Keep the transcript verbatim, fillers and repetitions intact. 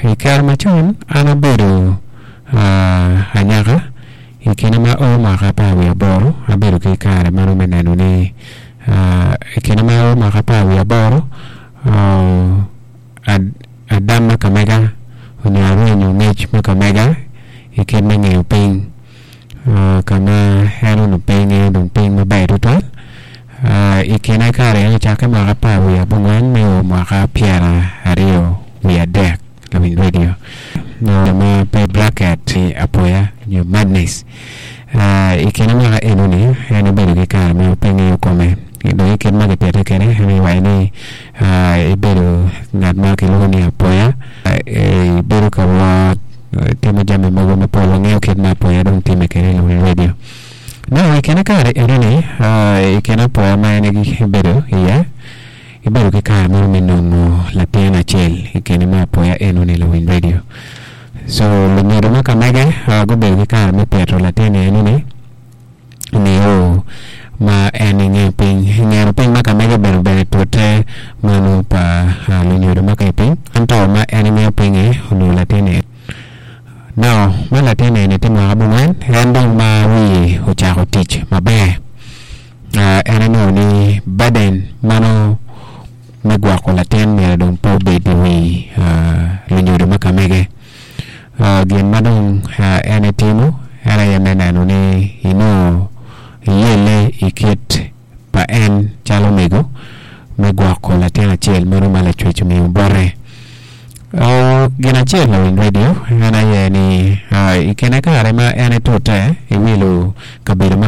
I kare macon an abedo anyaka i kine ma o mwaka apar wiye aboro abedo ki kare meno me neno ni i kine ma o mwaka apar wiye aboro adam ma ka mega onyo arwenyo ngec ma ka mega i kit me ngeyo piny ka ma en onongo pe ngeyo dong piny maber tutwal i kine kare eni ocakke mwaka apar wiye abongwen me o mwaka pyeraryo wiye adek lawiny radio ma pe bracket apoya nyo madness i kine mwaka enoni en obedo ki kare ma pe ngeyo kome dong i kit ma kipite kwede en owaco ni ebedo ngat ma kilwongo ni apoya ibedo ka wot timo jami mogo mapol wangeyo kit ma apoya dong time kwede lawiny radio now i kine kare enoni i kine apoya ma en ebedo iye ibedo ki kare mo me nongo latin acel i kine me apoya enoni lawiny radio so lunyodo ma ka mege gubedo ki kare me pito latin enoni nio ma en ingeyo piny ingeno piny ma ka mege obedo bene tute mano pa lunyodo ma ka i piny ento ma en ingeyo pinye onongo latin now ma latin eni tye mwaka abongwen en dong ma wiye ocako tic maber en onongo ni burden mano me gwoko latin myero dong pe obed i wi lunyodo ma ka mege gin ma dong en etimo en aye me neno ni inongo iyelle i kit pa en calo mego me gwoko latin acel meno ma lacwec omiyo bote gin acel lawiny radio en aye ni i kine kare ma en etute iwilo kabedo ma